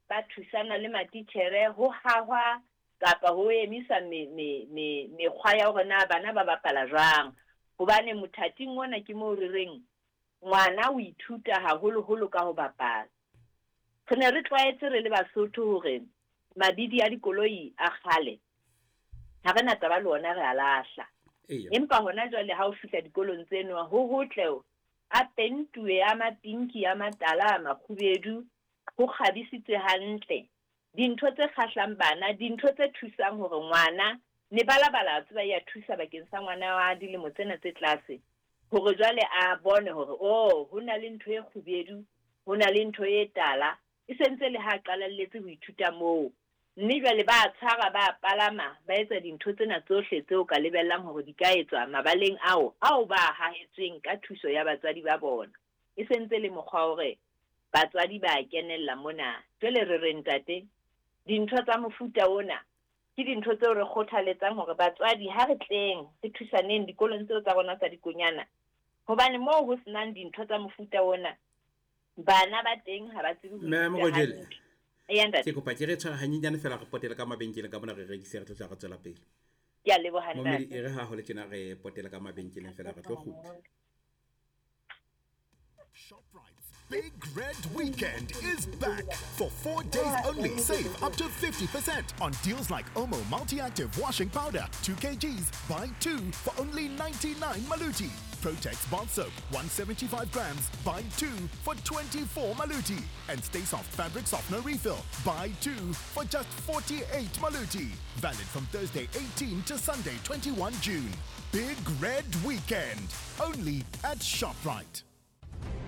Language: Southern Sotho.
ba thusana le matitjhere ho hahwa kapa ho emisa me, me, me, mekgwa ya hore na bana ba bapala jwang. Hobane mothating ona ke moo re reng ngwana o ithuta haholoholo ka ho bapala. Re ne re tlwaetse re le Basotho hore mabidi a dikoloi a kgale ha re na taba le ona re a lahla. Empa hona jwale ha o fihla dikolong tseno ho hotle a pentuwe a mapinki a matala a makgubedu ho kgabisitswe hantle. Dintho tse kgahlang bana, dintho tse thusang hore ngwana, mebalabala a tseba ya thusa bakeng sa ngwana wa dilemo tsena tse tlase, hore jwale a bone hore, oh, ho na le ntho e kgubedu, ho na le ntho e tala, e sentse le ha a qalalletse ho ithuta moo. Mme jwale ba tshwara, ba palama, ba etsa dintho tsena tsohle tseo ka lebellang hore di ka etswa mabaleng ao, ao ba a hahetsweng ka thuso ya batswadi ba bona. E sentse le mokgwa hore batswadi ba kenella mona. Jwale re re, ntate, dintho tsa mofuta ona ke dintho tseo re kgothaletsang hore batswadi ha re tleng re thusaneng dikolong tseo tsa rona tsa dikonyana. Hobane moo ho senang dintho tsa mofuta ona, bana ba teng ha ba tsebe ho Mme ithuta Morojele, hantle. Eya, ntate. Ke kopa ke re tshware hanyenyane fela re potele ka mabenkeleng ka mona re rekise re tlo tla re tswela pele. Ke a leboha, Momedi ntate. e re ha ho le tjena re potele ka mabenkeleng fela re tlo kgutla. ShopRite's Big Red Weekend is back. For 4 days only, save up to 50% on deals like Omo Multi-Active Washing Powder, 2 kgs, buy 2 for only 99 Maluti. Protex Bath Soap, 175 grams, buy 2 for 24 Maluti. And Stay Soft Fabric Softener Refill, buy 2 for just 48 Maluti. Valid from Thursday 18 to Sunday 21 June. Big Red Weekend, only at ShopRite.